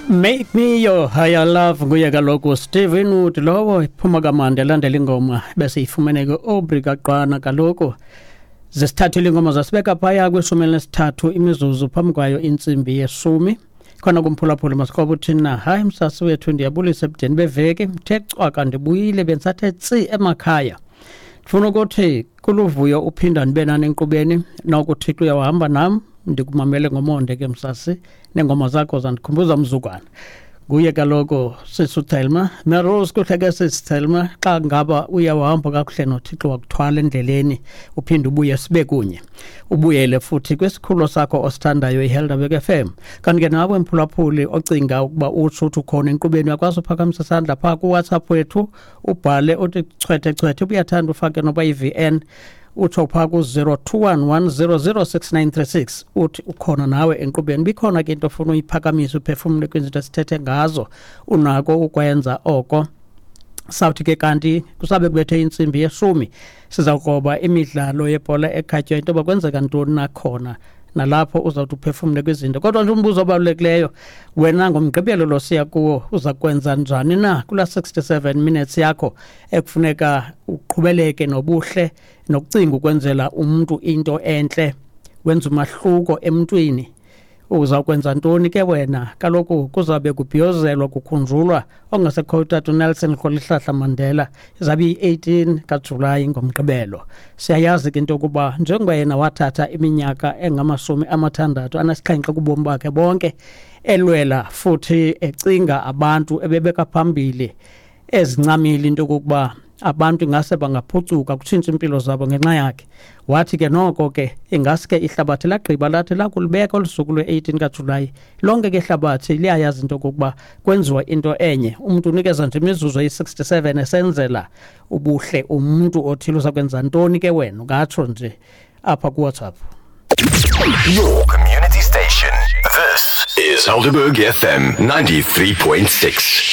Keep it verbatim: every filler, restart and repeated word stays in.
Make Me Your Higher Love nguye kaloku Steven Wood lowo, iphuma kamandi elandela ingoma bese ifumene ke Aubrey Kaqwana. Kaloku zesithathu ingoma zasibeka phaya kwishumi elinesithathu imizuzu phambi kwayo intsimbi yeshumi. Khona kumphulaphuli masikhoba uthini na? Hayi msasi wethu, ndiyabulisa ebudeni beveki, mthe cwaka, ndibuyile, bendisathe tsi emakhaya. Ndifuna ukuthi kuluvuyo uphinda ndibe nani enkqubeni, noko uThixo uyawuhamba nam. Ndikumamele ngomonde ke msasi, neengoma zakho zandikhumbuza mzukwana. Nguye kaloku sisi uThelma Merose. Kuhle ke sisi Thelma, xa ngaba uyawuhamba kakuhle noThixo wakuthwala endleleni, uphinde ubuye sibe kunye, ubuyele futhi kwisikhululo sakho osithandayo iHelderberg F M. Kanti ke nawe mphulaphuli ocinga ukuba utsho uthi ukhona enkqubeni, uyakwazi uphakamisa isandla phaa kuWhatsApp wethu, ubhale uthi chwethe chwethe, ubuyathanda ufake noba yi-V N, utsho phaa ku-zero two one one zero zero six nine three six, uthi ukhona nawe enkqubeni. Bikhona ke into ofuna uyiphakamisa, uphefumle kwizinto esithethe ngazo, unako ukwenza oko. Sawuthi ke kanti kusabe kubethe intsimbi yeshumi siza kugoba imidlalo yebhola ekhatywayo, into yoba kwenzeka ntoni nakhona nalapho uzawuthi uphefumle kwizinto. Kodwa nje umbuzo obalulekileyo, wena ngoMgqibelo lo siya kuwo uza kwenza njani na kulaa sixty-seven minutes yakho ekufuneka uqhubeleke nobuhle nokucinga ukwenzela umntu into entle, wenza umahluko emntwini? Uzawukwenza ntoni ke wena? Kaloku kuzabe kubhiyozelwa, kukhunjulwa ongasekhoyo utata uNelson Rholihlahla Mandela. Izabe iyi-eighteen kaJulayi ngoMgqibelo. Siyayazi ke into yokuba njengoba yena wathatha iminyaka engamashumi amathandathu anesixhenxe kubomi bakhe bonke elwela futhi ecinga abantu, ebebeka phambili, ezincamile into yokokuba abantu ingase bangaphucuka, kutshintshe impilo zabo ngenxa yakhe. Wathi ke noko ke ingaske ihlabathi lagqiba lathi lakulibeka olu suku lwe-eighteen kaJulayi, lonke ke ihlabathi liyayazi into okokuba kwenziwa into enye, umntu unikeza nje imizuzu eyi-sixty-seven esenzela ubuhle umntu othile. Uza kwenza ntoni ke wena? Ungatsho nje apha kuWhatsApp. Your community station. This is Helderberg F M ninety-three point six.